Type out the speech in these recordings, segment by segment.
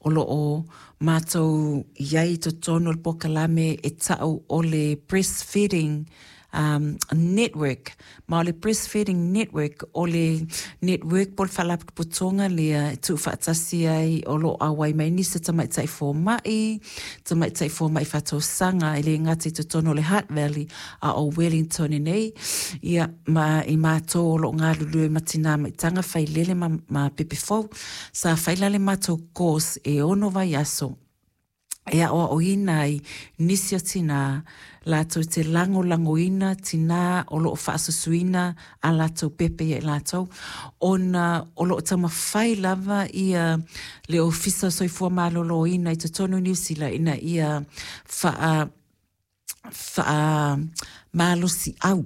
O lo o matou i ai i totonu o le polokalame e ta'u o le Breastfeeding Network. Ma o le Breastfeeding Network, o le network po o le faalapotopotoga lea e tuufaatasi ai o lo o auai mai nisi o tamaitai fomai, tamaitai fomai faatausaga e le gata i totonu o le Hutt Valley a o Wellington nei, ia, ma i matou o lo o galulue ma tinā maitaga failele ma, ma pepe fou. Sa fai la le matou course e 6 vaiaso e aoaoina ai nisi o tinā latou te lagolagoina tinā o lo o faasusuina a latou pepe ia i latou, ona o lo o taumafai lava ia le Ofisa o Soifua Maloloina i totonu o Niu Sila ina ia faa faamalosiau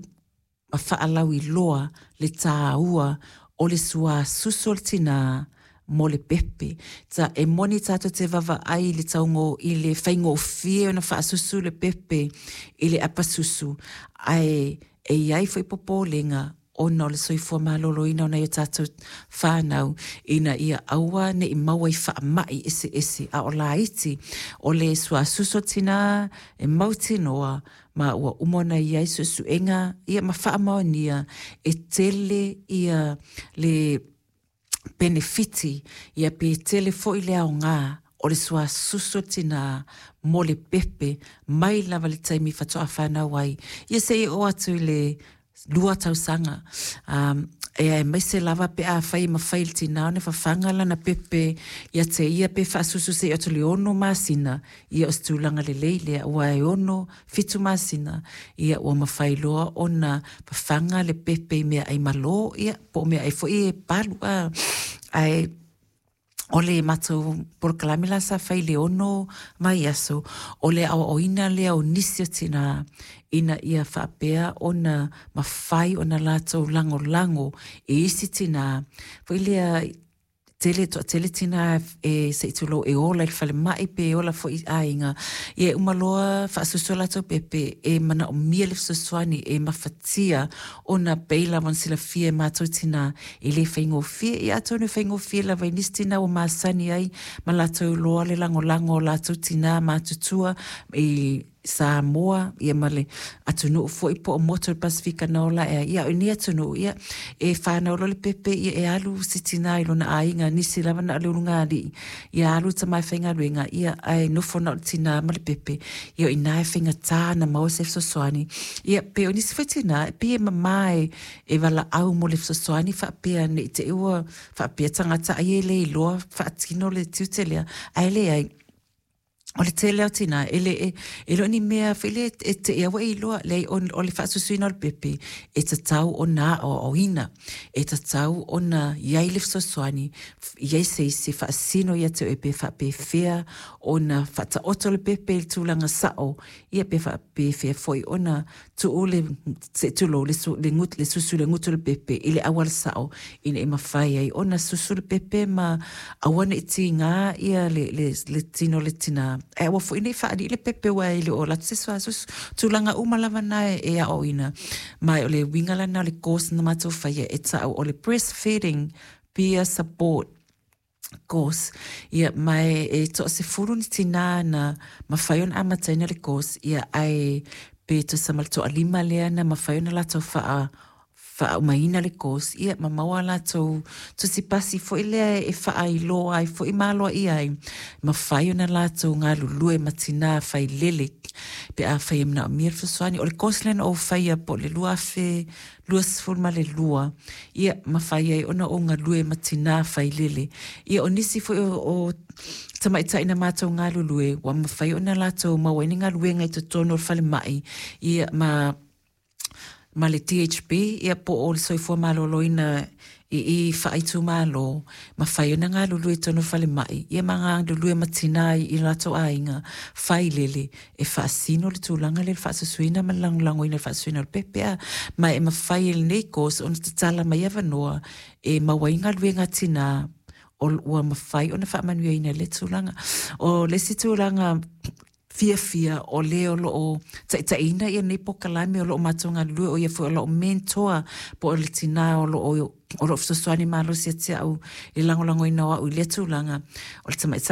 ma faalauiloa le tāua o le suasusu o le tinā mo le pepe. Ta, e moni tātou te vaavaai i le taugo, i le faigofie ona faasusu le pepe i le apasusu, ae e i ai foi popolega ona o le soifua maloloina o nai o tātou whānau ina ia aua ne i maua i faamai eseese a o laiti o le suasusu o tinā e mautinoa ma ua uma ona i ai suesuega ia ma faamaonia e tele ia le penefiti ia pe tele foi le aoga o le suasusu o tinā mo le pepe mai lava le taimi faatoa whanau ai ia seia oo atu i le 2 tausaga. E aemaise lava pe afai e mafai e le tinā ona fafaga lana pepe ia te ia pe faasusu seia oo atu i le 6 masina, ia o se tulaga lelei lea, aua e 6, 7 masina, ia ua mafai loa ona fafaga le pepe i meaai malo, ia po o meaai foi e palu. Ae o le matou polokalame la sa fai i le 6 vaiaso, o le aoaoina lea o nisi o tinā ina ia faapea ona mafai ona latou lagolago i isi tinā. Foi lea, tele, toatele tinā e, se i tulou, e ola i le falemai pe ola foi i aiga, ia e uma loa faasusu a latou pepe, e manaomia le fesoasoani e mafatia ona pei lava ona silafia e matou tinā, E le faigofie, ia atonu e faigofie lava i nisi tinā ua masani ai ma latou iloa le lagolago o latou tinā matutua i Samoa, ia ma le atunuu foi po o motu o le Pasefika na ola ae ai. Ia, o nei atunuu, ia, e whānau loa le pepe, ia e alu se tinā i lona aiga, nisi lava na o le ulugalii, ia alu le tama e faigaluega, ia, ae nofo na o le tinā ma le pepe, ia o i ina e faigata ona maua se fesoasoani. Ia, pe o nisi foi tinā, e pei e mama e, e valaau mo le fesoasoani faapea ne i te i ua faapea tagata ai e le iloa faatino le tiute lea, ae leai. O le tele o tinā, e le, e, e le o ni mea foi lea e te i aua e iloa, leai, o, o le faasusuina o le pepe, e tatau ona aoaoina, e tatau ona i ai le fesoasoani, i ai se isi e faasino ia te oe pe faapefea ona faataoto le pepe i le tulaga sao, ia pe faapefea foi ona tuu le, se i tulou, le, su, le, gut, le susu le gutu o le pepe i le auala sao ina ia mafai ai ona susu le pepe ma aua ne i tigā ia le, le, le tino o le tinā. Ae aua foi ne i faalii le pepe aua e le o alu atu se suasusu. Tulaga uma lava na e, e aoaoina. Ma o le uiga la lena o le course na matou faia e ta'u o le breastfeeding peer support course. Ia, ma e, e toasefulu ni tinā na mafai ona amataina le course, ia, ae pe tusa ma le toalima lea na mafai ona latou faa faaumaina le course, ia, ma maua a latou tusi pasi foi lea e faailoa ai foi ma aloaia ai, mafai ona latou galulue ma tinā failele pe afai e manaomia le fesoasoani. O le course lea na ou faia po o le 2022, ia, mafai ai ona ou galue ma tinā failele. Ia, o nisi foi o, o tamaitai na matou galulue, ua mafai ona latou maua ai ni galuega i totonu o le falemai, ia, ma, ma le DHB, ia, po o le Soifua Maloloina i i faaitumalo, mafai ona galulue i totonu o le falemai, ia ma galulue ma tinā i latou aiga failele, e faasino le tulaga lea i le faasusuina ma le lagolagoina i le faasusuina o le pepe a, ma e mafai e lenei course ona tatala mai avanoa e maua ai galuega a tinā o ua mafai ona faamanuiaina i lea tulaga. O le isi tulaga fiafia o le o lo o taitaiina ia nei polokalame o lo o matou galulue, o ia foi o la'u mentor po o le tinā o lo o o lo o fesoasoani malosi ia te au i le lagolagoina o au i lea tulaga, o le tamaitai.